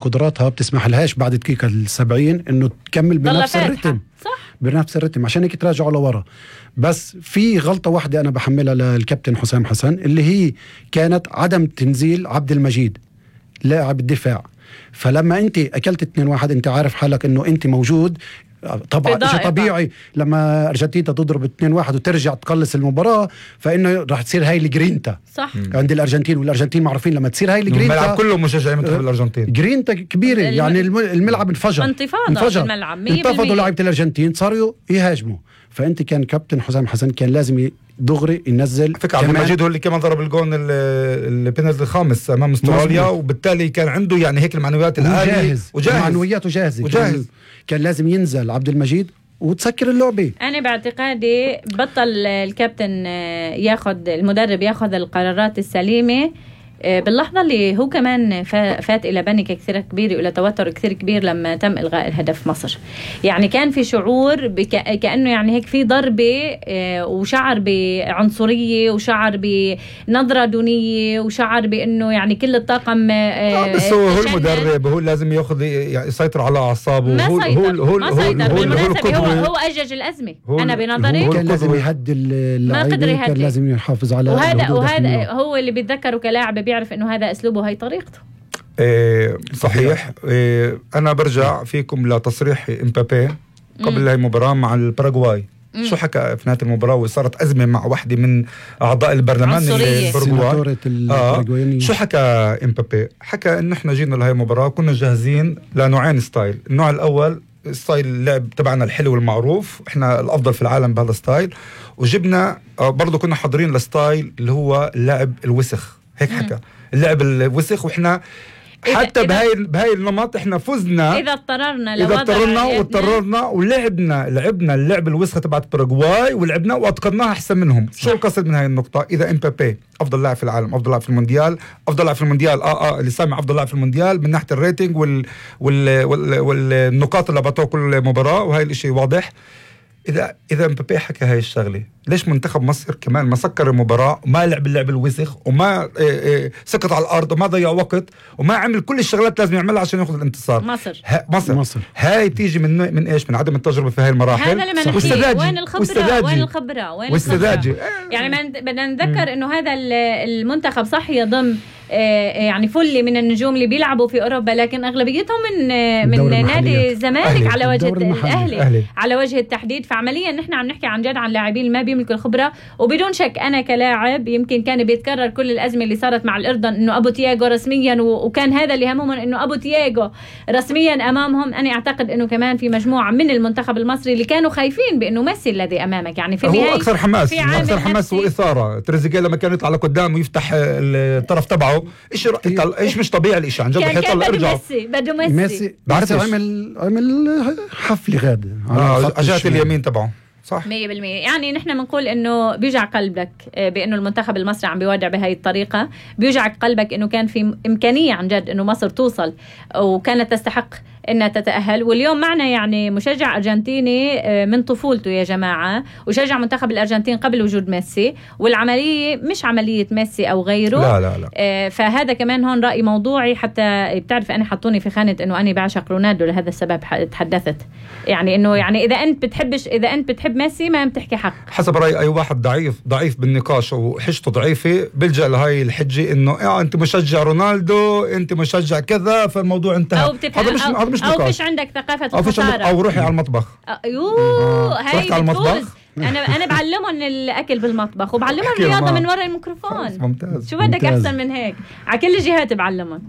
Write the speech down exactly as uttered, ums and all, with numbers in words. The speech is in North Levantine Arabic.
قدراتها بتسمح لهاش بعد دقيقة السبعين انه تكمل بنفس الرتم، صح؟ بنفس الرتم عشان هيك تراجعوا لورا. بس في غلطة واحدة انا بحملها للكابتن حسام حسن اللي هي كانت عدم تنزيل عبد المجيد لاعب الدفاع. فلما انت اكلت اثنين واحد انت عارف حالك انه انت موجود، طبعا شيء طبيعي لما ارجنتين تضرب اثنين واحد وترجع تقلص المباراه فانه راح تصير هاي الجرينتا صح عند الارجنتين. والارجنتين معروفين لما تصير هاي الجرينتا الملعب كله مشجعين منتخب الارجنتين، جرينتا كبيره الم... يعني الملعب انفجر انتفاضه في الملعب، انتفضوا لاعيبه الارجنتين صاروا يهاجموا. فانت كان كابتن حسام حسن كان لازم دغري ينزل فكرة عبد المجيد هو اللي كمان ضرب الجون البينالتي الخامس امام استراليا، وبالتالي كان عنده يعني هيك المعنويات العاليه وجاهز وجاهز معنوياته جاهزه وجاهز. كان, كان لازم ينزل عبد المجيد وتسكر اللعبه. انا باعتقادي بطل الكابتن ياخذ المدرب ياخذ القرارات السليمه باللحظة اللي هو كمان فات إلى بانيكا كثير كبير وإلى توتر كثير كبير لما تم إلغاء الهدف مصر. يعني كان في شعور بك... كأنه يعني هيك في ضربة وشعر بعنصرية وشعر بنظرة دونية وشعر بأنه يعني كل الطاقم آه بس هو, هو المدرب هو لازم ياخذ يعني يسيطر على أعصابه. ما هو سيطر هو ما سيطر بالمناسبة هو, هو أجج الأزمة. أنا بنظري هو كان لازم يهدي اللعيبة، كان لازم يحافظ على وهذا وهذا هو اللي بيتذكره كلاعب بيعرف انه هذا اسلوبه هاي طريقته. إيه صحيح. إيه انا برجع فيكم لتصريح امبابي قبل هاي المباراه مع الباراغواي. شو حكى في نهايه المباراه وصارت ازمه مع واحده من اعضاء البرلمان الباراغواي. آه. شو حكى امبابي؟ حكى انه احنا جينا لهي المباراه كنا جاهزين لنوعين ستايل. النوع الاول ستايل اللعب تبعنا الحلو المعروف، احنا الافضل في العالم بهذا الستايل، وجبنا برضو كنا حاضرين لستايل اللي هو اللعب الوسخ. هيك حكى اللعب الوسخ. واحنا حتى بهاي بهاي النمط احنا فزنا اذا اضطررنا اذا اضطررنا واضطررنا ولعبنا لعبنا اللعب الوسخه تبعت باراغواي ولعبنا واتقناها احسن منهم. شو القصد من هاي النقطه؟ اذا امبابي افضل لاعب في العالم، افضل لاعب في المونديال، افضل لاعب في المونديال اه اه اللي سامع افضل لاعب في المونديال من ناحيه الريتنج وال وال وال والنقاط اللي بعطوها كل مباراه، وهي الاشي واضح. إذا إذا مبابي حكى هاي الشغلة، ليش منتخب مصر كمان ما سكر المباراة وما لعب اللعب الوسخ وما إيه إيه سقط على الأرض وما ضيع وقت وما عمل كل الشغلات لازم يعملها عشان ياخذ الانتصار؟ مصر مصر, مصر. هاي تيجي من من إيش؟ من عدم التجربة في هاي المراحل. هذا اللي والسذاجة وين الخبرة وين الخبرة وين والسذاجة. يعني بدنا نتذكر إنه هذا المنتخب صح يضم يعني فل من النجوم اللي بيلعبوا في أوروبا، لكن أغلبيتهم من من نادي الزمالك على وجه الأهلي. الأهلي على وجه التحديد. فعمليا نحن عم نحكي عن جد عن لاعبين ما بيملكوا الخبرة. وبدون شك أنا كلاعب يمكن كان بيتكرر كل الأزمة اللي صارت مع الأردن إنه أبو تياغو رسميا، وكان هذا اللي همهم إنه أبو تياغو رسميا أمامهم. أنا أعتقد إنه كمان في مجموعة من المنتخب المصري اللي كانوا خايفين بأنه ميسي الذي أمامك. يعني في هو أكثر حماس أكثر حماس وإثارة. تريزيجيه لما كان يطلع لقدام ويفتح الطرف تبعه إيش إيش مش طبيعي الإشي عن جد. كان بده ميسي بده ميسي ميسي بعرف عمل عمل حفل غاد على جهة اليمين تبعه صح مية بالمية. يعني نحن بنقول إنه بيوجع قلبك بإنه المنتخب المصري عم بيودع بهاي الطريقة. بيوجعك قلبك إنه كان في إمكانية عن جد إنه مصر توصل وكانت تستحق إنها تتأهل. واليوم معنا يعني مشجع أرجنتيني من طفولته يا جماعة، وشجع منتخب الأرجنتين قبل وجود ميسي، والعملية مش عملية ميسي أو غيره. لا لا لا. آه فهذا كمان هون رأي موضوعي. حتى بتعرف أنا حطوني في خانة إنه أنا بعشق رونالدو لهذا السبب تحدثت. يعني إنه يعني إذا أنت بتحبش إذا أنت بتحب ميسي ما بتحكي حق. حسب رأي أي واحد ضعيف ضعيف بالنقاش وحجته ضعيفة بلجأ لهاي الحجة إنه آه أنت مشجع رونالدو أنت مشجع كذا فالموضوع انتهى. هذا مش هذا مش أو فيش عندك ثقافة الخسارة أو روحي على المطبخ. أيوه هاي على المطبخ. أنا أنا بعلمهم الأكل بالمطبخ وبعلمهم الرياضة من وراء الميكروفون. ممتاز. شو بدك أحسن من هيك؟ على كل الجهات بعلمهم.